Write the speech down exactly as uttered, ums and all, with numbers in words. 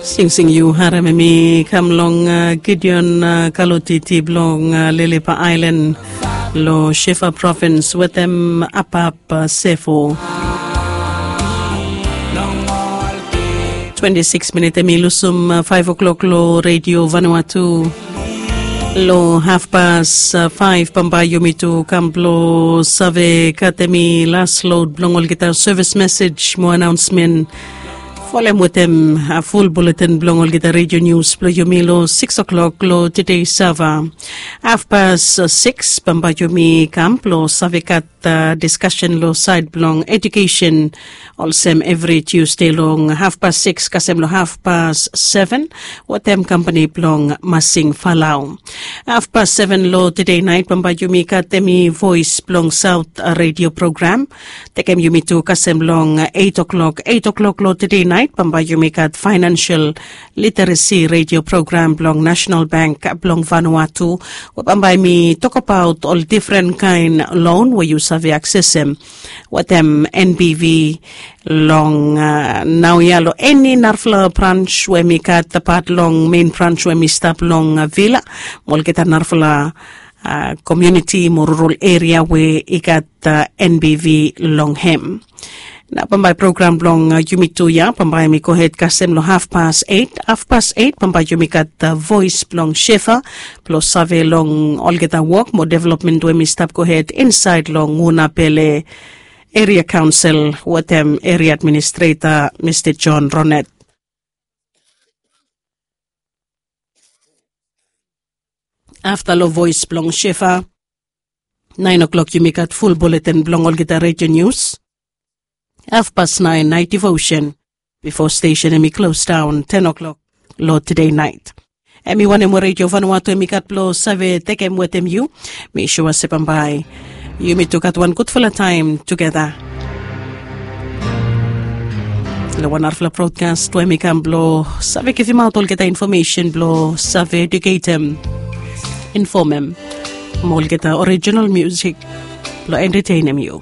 Singsing yu harem em i kam long Gideon Kalotiti blong Lelepa Ailan, long Shefa provins wetem Apap Sefo. Twenti sikis minit em i lusum faiv o'klok long Redio Vanua tu. Long hafpas faiv bambae yumi tu kam blong save gat em i las lod blong olgeta sevis mesej mo anaonsmen. Folem wetem ful buletin blong olgeta redio nius blong yumi long siks o'klok long tede sava. Hafpas siks bambae yumi kam blong save gat diskasen long saed blong ejukesen, olsem evri tiusde long hafpas siks kasem long hafpas seven wetem kampani blong Masing Falau. Hafpas seven long tede naet bambae yumi gat em i Voes blong Saot redio program. Tekem yumi tu kasem long eit o'klok eit o'klok long tede naet bambae yumi gat faenansial literesi redio program blong Nasenal Bank blong Vanuatu, we bambae mi tokbaot ol difren kaen lon we yu save aksesem wetem NBV long naoia long eni narafala brans we mi gat apat long mein brans we mi stap long Vila mo olgeta narafala komiuniti mo rural eria we i gat NBV long hem. Na bambae program blong yumi tu ya bambae mi gohed kasem long hafpas eit. Hafpas eit bambae yumi gat Voes blong Shefa blong save long olgeta wok mo developmen we mi stap gohed insaed long Unapele Eria Kaonsel wetem Eria Administreta Mista John Ronet. Afta long Voes blong Shefa, naen o'klok yumi gat ful buletin blong olgeta redio nius. Hafpas naen naet divosen bifo stesen em i klos daon ten o'klok long tede naet. Em i wanem we Redio Vanuatu em i gat blong save tekem wetem yu. Mi sua se bambae yumi tu gat wan gudfala taem tugeta long wan narafala brodkas we em i kam blong save givimaot olgeta infomesen blong save ejuketem, infomem mo olgeta orijinal musik blong entetenem yu.